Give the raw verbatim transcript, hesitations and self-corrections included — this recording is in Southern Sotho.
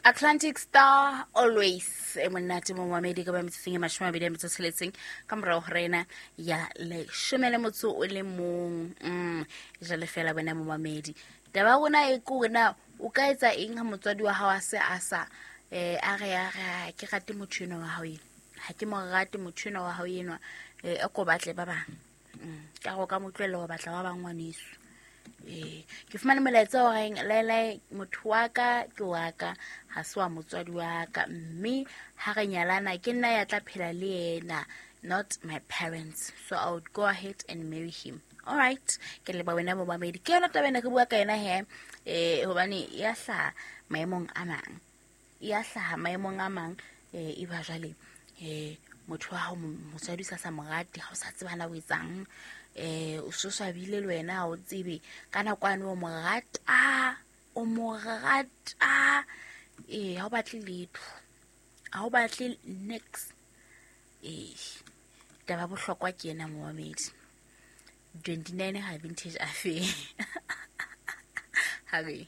Atlantic Star always e monate mo mamedi ka ba metsotsong e mashome a mabedi a metso tsheletseng ka morao ho rena ya leshome le motso o le mong. Mm jale fela wena mo mamedi, taba ya rona e ke hore na o ka etsa eng ha motswadi wa hao a se a sa eh a re a re ke rate motho enwa wa hao enwa, ha ke mo rate motho enwa wa hao enwa, eh a ko batle ba bang. Mm ka go ka mo tlohella ho batla ba bang ngwaneso. Eh ke fumane molaetsa o reng laelae motho wa ka ke wa ka, ha se wa motswadi wa ka, mme ha re nyalana ke nna ya tla phela le yena, not my parents, so I would go ahead and marry him. All right, ke leba wena momamedi, ke yona taba ena re bua ka yona he, eh hobane ya hlaha maemong a mang, ya hlaha maemong a mang, eh e ba jwale eh motho wa hao motswadi o sa sa mo rate, ha o sa tseba na o etsang, eh o so swabile le wena ha o tsebe ka nako ane o mo rata, o mo rata, eh ha o batle letho, ha o batle next. Eh taba bohlokwa ke ena momamedi, twenty-nine ha vintage affair. Ha re